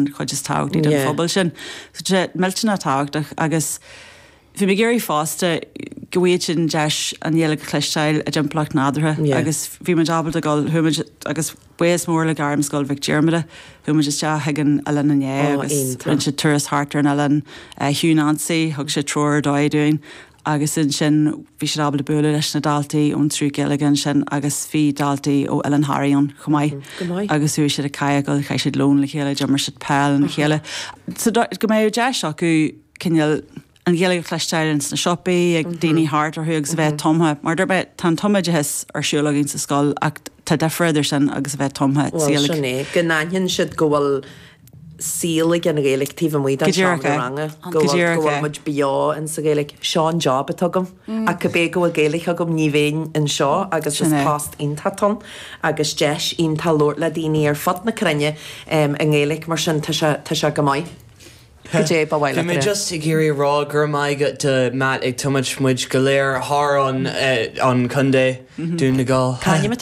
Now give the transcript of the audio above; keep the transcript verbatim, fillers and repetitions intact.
chuid is tábhachtaí den Yeah. phobal sin. So sé millteanach tábhachtach agus bhí mé ag iarraidh fosta go bhfuil sin deis an Ghaeilge a chloisteáil i dtimpeallacht nádúrtha Yeah. agus bhí muid ábalta dul chuaigh muid agus buíochas mór le Gairmscoil Mhic Diarmada chuaigh muid isteach chuig an oileán inné Oh, agus iontach. rinne siad turas thart ar an oileán uh, Hugh Nancy thug sé treoir dóibh dúinn agus ansin bhí siad ábalta bualadh leis na daltaí ón triú Gaeilge ansin agus bhí daltaí ó Oileán Thoraí ann chomh maith. Go maith. agus chuaigh siad ag cadhcáil chaith siad lón le chéile d'imir siad peil le chéile. So do- go mbeadh deis acu cineál an Ghaeilge a chloisteáil sna siopaí ag daoine thart orthu agus a bheith tumtha, mar dúirt mé tá an tumoideachas ar siúl againn sa scoil ach tá difear idir sin agus a bheith tumtha Well, sin é go n-aithníonn siad go bhfuil saol ag an Ghaeilge taobh amuigh den Go díreach seomra é. ranga Go go bhfuil díreach go bhfuil é. muid beo in sa Ghaeilge seo an job atá agam ach go bé go bhfuil Gaeilge agam ní bheinn anseo agus is Sin é. post iontach ann agus deis iontach labhairt le daoine ar fud na cruinne um, i nGaeilge mar sin tá sé tá sé go maith. Go dé ba Bhí mé just ag iarraidh rá gur maith do Matt ag tumaid muid go léir thar an eh, an contae Dún na Gall. Cáim